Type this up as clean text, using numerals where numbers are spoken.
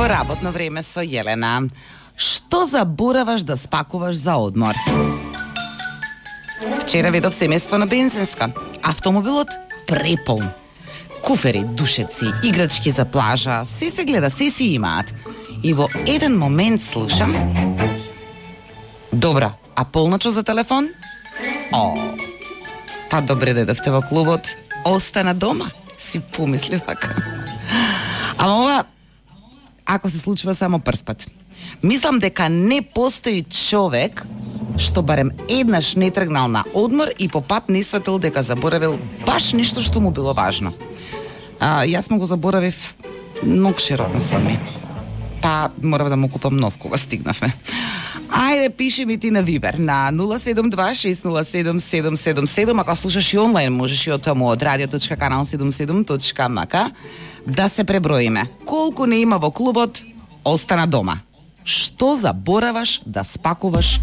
Во работно време со Јелена. Што забораваш да спакуваш за одмор? Вчера видов семејство на бензинска. Автомобилот преполн. Куфери, душеци, играчки за плажа, се гледа, се си имаат. И во еден момент слушам: добра, а полночо за телефон? Па добре дојдовте во клубот. Остана дома, си помисли вака. Ама ова, ако се случува само прв пат. Мислам дека не постои човек што барем еднаш не тргнал на одмор и по пат не сватил дека заборавил баш ништо што му било важно. Јас му го заборавив многу широтно сами. Па морав да му купам нов кога стигнавме. Ајде, пиши ми ти на Вибер на 072-607-777. Ако слушаш и онлайн, можеш и од таму од radio.canal77.mk да се преброиме. Колку не има во клубот, остана дома. Што забораваш да спакуваш